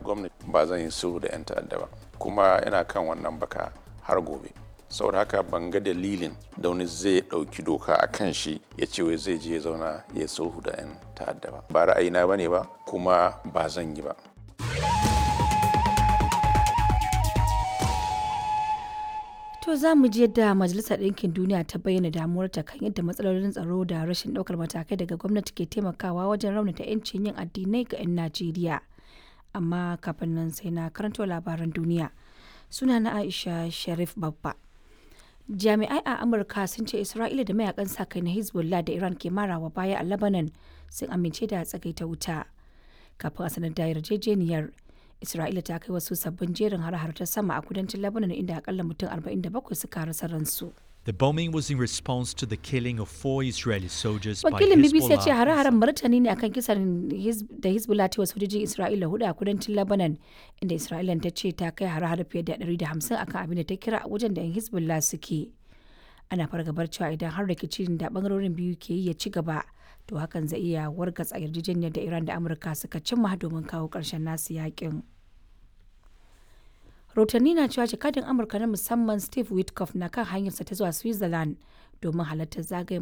gwamnati ba zan yi sulhu da 'yan ta'adda ba, kuma ina kan wannan baka har gobe. Saboda haka ban ga dalilin da wani zai ɗauki doka a kan shi ya ce wai zai je ya zauna ya sulhu da 'yan ta'adda ba. Ba ra'ayina ba ne ba, kuma ba zan yi ba. To za mu ji yadda Majalisar Ɗinkin Duniya ta bayyana damuwarta kan yadda matsalolin tsaro da rashin ɗaukar matakai daga gwamnati ke taimakawa wajen raunata 'yancin yin addinai ga 'yan Najeriya. Amma kafin nan sai na karanto labaran duniya. Suna na Aisha Sharif Babba. Jami'ai a Amurka sun ce Isra'ila da mayakan sa kai na Hezbollah da Iran ke marawa baya a Lebanon sun amince da tsagaita wuta. Kafin a sanar da yarjejeniyar, Isra'ila ta kai wasu sabbin jerin har-har ta sama a kudancin Lebanon inda akalla mutum 47 suka rasa ransu. The bombing was in response to the killing of four Israeli soldiers by Wakilin BBC ya ce Hezbollah. hare-haren martani ne akan kisan da Hezbollah ta yi wa sojojin Isra'ila hudu a kudancin Lebanon, inda Isra'ilan ta ce ta kai hare-hare fiye da 150 akan abin da ta kira a wajen da 'yan Hezbollah suke. Ana fargabar cewa idan har rikicin da bangarorin biyu ke yi ya ci gaba, to hakan zai iya wargatsa yarjejeniyar da Iran da Amurka suka cimma domin kawo ƙarshen nasu yakin. Rahotanni na cewa jakadin Amurka na musamman Steve Witkoff na kan hanyarsa ta zuwa Switzerland domin halartar zagayen